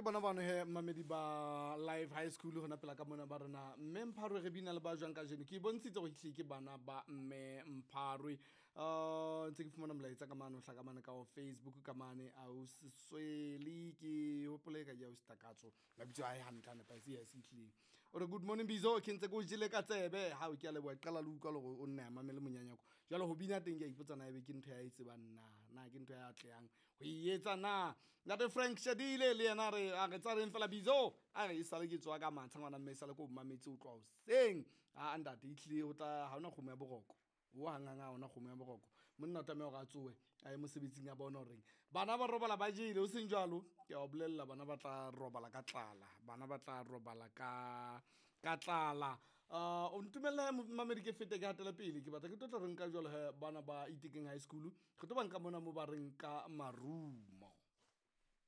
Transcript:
Ke bona bano he mamedi ba Live High School hona pela ka mona ba rena mme Mpharwe re bina le ba jwang kajeno. Ke bontshitse hore ehlile ke bana ba mme Mpharwe. Ntse ke fumana molaetsa ka mane o hlaka mane ka ho Facebook ka mane ausi Sweli, ke hopole ka ke ausi Takatso mabitso a hae hantle a nepahetse, yes ehlile. O re good morning Bizo, ke ntse ke o jele ka tsebe. Ha o ke a leboha, qala le utlwa le hore o nne a mamele monyanyako. Jwale ho bina teng ke a ipotsa na ebe ke ntho ya e tsebang na, na ke ntho ya atlehang ho e etsa na. Ntate Frank Shadile le yena a re a re tsareng fela Bizo, a re e sale ke tswa ka matsha ngwana mme e sale ke o mametse o tloha hoseng. A ntate ehlile ho tla ha hona kgomo ya boroko. O hang hang ha hona kgomo ya boroko. Monna o tlameha hore a tsohe a ye mosebetsing a bone horeng bana ba robala ba jele, ho seng jwalo ke a o bolella bana ba tla robala ka tlala, bana ba tla robala ka tlala. O ntumelle mamedi ke fete ke hatele pele, ke batla ke tlo tla re nka jwalo he bana ba Itekeng High School, re tlo ba nka mona mo ba reng ka marumo.